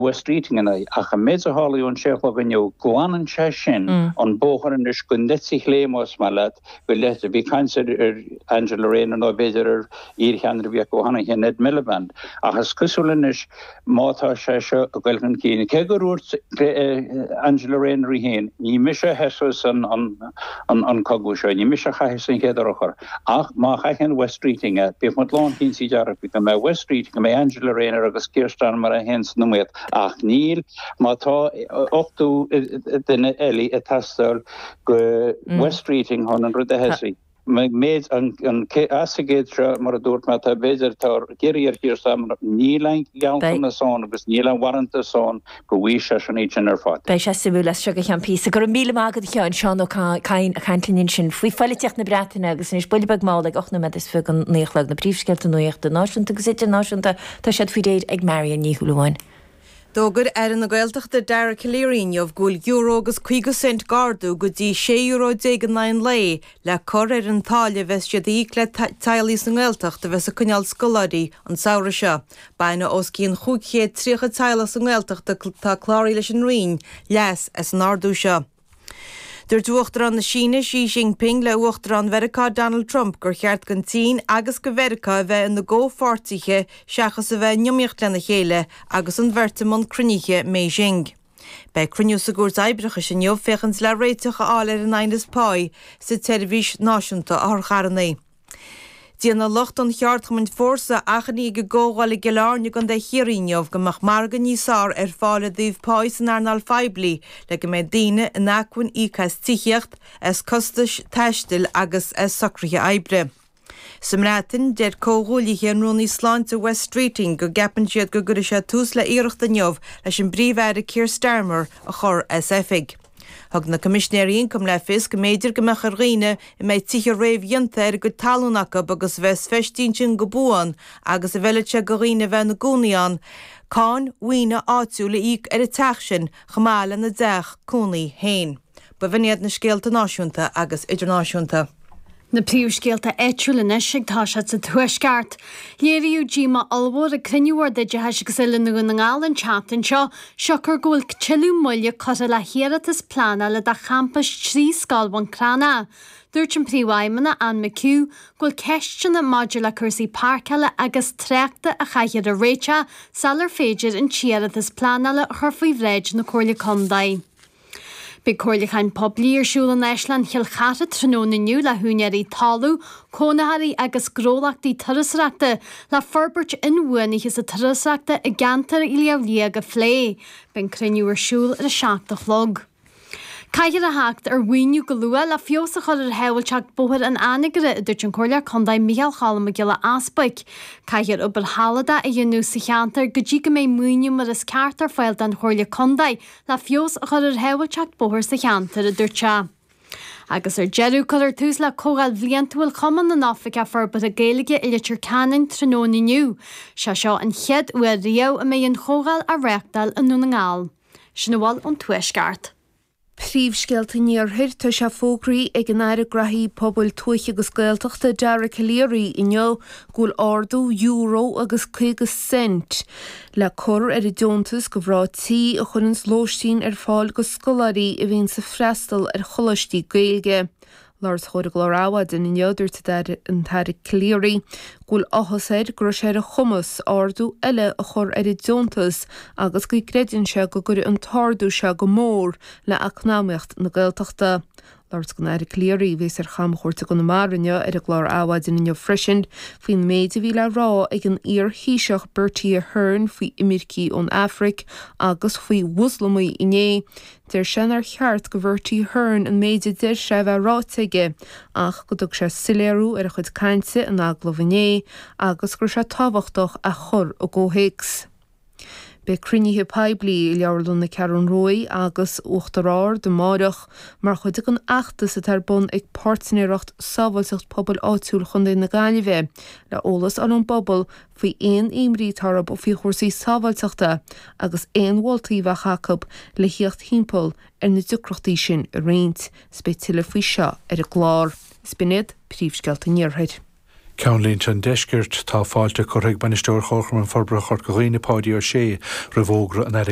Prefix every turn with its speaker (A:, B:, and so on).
A: Wes Streeting ina aghaidh, ach an méid a tharlaigh ón sé a chlog inniu, glanann sé sin an bóthar anois don eite chlé, más maith leat, go leith. Bhí caint ar Angela Rayner nó b'fhéidir ar iarcheannaire a bhí acu cheana féin, Ed Miliband, ach is cosúil anois má tá sé seo ag goil chun cinn, cé gur dhúirt Angela Rayner í féin, ní mise a thosaigh an cogadh seo, ní mise a chaithfeas an chéad urchar. Ach má chaitheann Wes Streeting é, bíodh muid lánchinnte dearfa go mbeidh Wes Streeting, go mbeidh Angela Rayner agus Keir Starmer é féin san iomaíocht. Ach níl, má tá 80 duine eile ag teastáil go Wes Streeting chun an rud a thosaí. Méid an as an gcéad seo, mar a dúirt mé, tá b'fhéidir, tá ag iarraidh ar Keir Starmer, níl aon ghealltanas ann agus níl aon bharántas ann go bhfaighidh seisean iad sin ar fad.
B: Beidh sé suimiúil as seo go ceann píosa. Go raibh míle maith agat a Sheáin, Seán Ó Cadhain ag caint linn ansin faoi phoilitíocht na Breataine agus anois buille beag mall ag 8 nóiméad is fiche go 9 a chlog na príomhscéalta nuachta náisiúnta agus idirnáisiúnta tá siad faoi réir ag Marion Ní Shúilleabháin.
C: D'fhógair Aire na Gaeltachta Dara Calleary inniu go bhfuil euro agus 50 cent d'ardú go dtí €16 euro in aghaidh an lae le cur ar an táille a bheas siad a íoc le teaghlaigh sa nGaeltacht a bheas ag coinneáil scoláirí an samhradh seo. Bainfidh os cionn 530 teaghlach sa nGaeltacht atá cláraithe leis an Roinn leas as an ardú seo. Dúirt Uachtarán na Síne Xi Jinping le Uachtarán Mheiriceá Donald Trump gur cheart don tSín agus do Mheiriceá a bheith ina gcomhpháirtithe seachas a bheith in iomaíocht lena chéile agus an bheirt i mbun cruinnithe i mBeijing. Beidh cruinniú sa gCúirt Oibreachais inniu féachaint le réiteach a fháil ar an aighneas páí sa tSeirbhís Náisiúnta Otharcharranna. Déanfaidh lucht an cheardchumainn Fórsa achainí ag an gcomhdháil i gCill Airne i gContae Chiarraí inniu go mbeadh margadh níos fearr ar fáil i dtaobh páí san earnáil phoiblí le go mbeidh daoine in acmhainn íoc as tithíocht, as costais taistil agus as socruithe oibre. Sa mBreatain, deir comhghuaillithe an Rúnaí Sláinte Wes Streeting go gceapann siad go gcuirfidh sé tús le iarracht inniu leis an bPríomh-Aire Keir Starmer a chur as oifig. Thug na Coimisinéirí Ioncaim le fios go mb'fhéidir go mbeadh ar dhaoine a mbeidh tithe réamhdhéanta ar a gcuid talún acu agus a bheas feistithe ansin go buan agus a bhfeilfidh sé do dhaoine a bheith ina gcónaí ann, cáin mhaoine áitiúil a íoc ar an teach sin chomh maith lena dteach cónaí féin. B'in iad na scéalta náisiúnta agus idirnáisiúnta.
D: Na príomhscéalta áitiúil anois ag toiseacht sa Tuaisceart. Léiríodh díomá ollmhór ag cruinniú Bhord Oideachais agus Oiliúna Dhún na nGall an tseachtain seo, siocair go bhfuil tuilleadh moille curtha le hiarratas pleanála do champas 3 scoil Bhun Cranncha. Dúirt an Príomhfheidhmeannach, Anne McHugh, go bhfuil ceisteanna maidir le cúrsaí páirceála agus tráchta a chaithfear a réiteach sular féidir an t-iarratas pleanála a chur faoi bhráid na Comhairle Contae. Beidh comhairliúchán poiblí ar siúl in Áislann Chill Chartha tráthnóna inniu le húinéirí talún, cónaitheoirí agus gnólachtaí turasóireachta le forbairt inbhuanaithe sa turasóireachta i gceantar Shliabh Liag a phlé. Beidh an cruinniú ar siúl ar a 7 a chlog. Caithfear a theacht ar mhaoiniú go luath le feabhas a chur ar shábháilteacht Bhóthar an Anagaire, a dúirt an Comhairleoir Contae Micheál Cholm Mac Giolla Easbuic. Caithfear obair shealadach a dhéanamh sa cheantar go dtí go mbeidh maoiniú mar is ceart ar fáil don Chomhairle Contae le feabhas a chur ar shábháilteacht bóthair sa cheantar, a dúirt sé. Agus ar deireadh, cuirfear tús le Comhdháil Bhliantúil Chumann na nOifigeach Forbartha Gaeilge i Leitir Ceanainn tráthnóna inniu. Sé seo an chéad uair riamh a mbeidh an chomhdháil á reáchtáil i nDún na nGall. Sin a bhfuil ón Tuaisceart.
E: Príomhscéalta an Iarthair, Tá sé fógraithe ag an Aire Graithí Pobail Tuaithe agus Gaeltachta Dara Calleary inniu go bhfuil ardú euro agus 50 cent le cur ar an deontas do mhná tí a chuireanns lóistín ar fáil do scoláirí a bhíonns ag freastal ar choláistí Gaeilge. Labhairt chomhair an gclár Adhmhaidin inniu, dúirt an tAire Calleary go bhfuil áthas air go raibh sé ar a chumas ardú eile a chur ar an deontas agus go gcreideann sé go gcuirfidh an t-ardú seo go mór le eacnamaíocht na Gaeltachta. Labhairt don Aire Calleary, a bhíos ar chamchuairt i gConamara inniu, ar an gclár Adhmhaidin inniu freisin faoin méid a bhí le rá ag an iar-Thaoiseach Bertie Ahern faoi imircigh ón Afraic agus faoi Mhoslamaigh inné. Deir sé nár cheart do Bhertie Ahern an méid a deir sé a bheith ráite aige ach go dtug sé soiléiriú ar a chuid cainte in agallamh inné agus go raibh sé tábhachtach é a chur i gcomhthéacs. Beidh cruinnithe poiblí i Leabharlann na Ceathrún Ruaidh agus Uachtar Ard amáireach mar chuid den fheachtas atá ar bun ag Páirtnéireacht Sábháilteacht Pobail Áitiúil Chontae na Gaillimhe le eolas a fháil ón bpobal faoi aon imní atá orthu faoi chúrsaí sábháilteachta agus aon mholtaí a bheadh acu le thíocht thimpeall ar na deacrachtaí sin a roinnt. 'S beidh tuilleadh faoi seo ar an gclár. 'S b'in iad príomhscéalta an Iarthair.
F: Ceannlínte an Deiscirt, Tá fáilte curtha ag Bainisteoir Chomharchumann Forbartha Chorca Dhuibhne, Páidí Ó Sé, roimh fhógra an Aire.